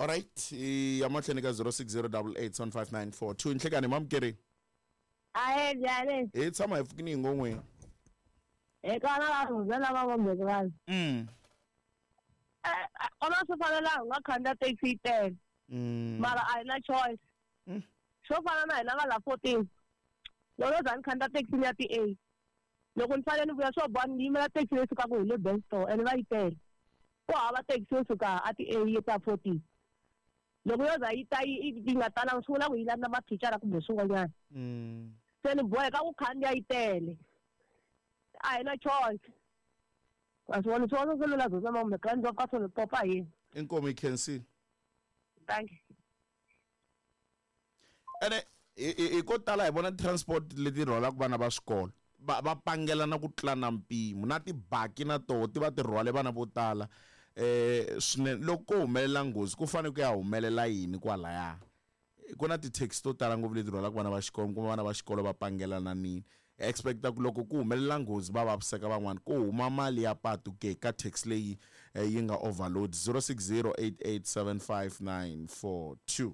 Alright, ya mahlweni ka 0608875942. Nhlekani mamukeri. Ahe njhani? Hi tshama hi pfukini hi ngon'weni. Hi kona va rhumela lava vombekani. Kona swi fanela hi nga khandziya taxi yi tele. Mara a hi na choice. Swo fana na hina va la 14. Loko no za ni khandziya taxi ya ti-A. Loko ni fanele ni vuya swo boha ni yimela taxi leyi sukaka hi le Benstore ene va yi tele. Ku hava taxi yo suka a ti-A yi ta 14. Loko yo za yi ta yi yi nga talanga swi vula ku yi landza mathicara kumbe swin'wanyana. Se ni boheka ku khandziya yi tele. A hi na choice. Wa swi vona swona swi lula zona kumbe khandziya ka swona popa hi. Inkomu yi khensile. Thank you. Ene hi ko tala hi vona transport leti rhwalaka vana va swikolo va va pangelana ku tlula na mpimo na tibaki na toho ti va ti rhwale vana vo tala swinene. Loko ko humelela nghozi ku fanele ku ya humelela yini kwalaya? Ku na ti-taxi to tala ngopfu leti rhwalaka vana va xikolo, kuma vana va xikolo va pangelana nini. Expecta ku loko ku humelela nghozi va vaviseka van'wani ku huma mali ya patu ke ka taxi leyi yi nga overload. 0608875942.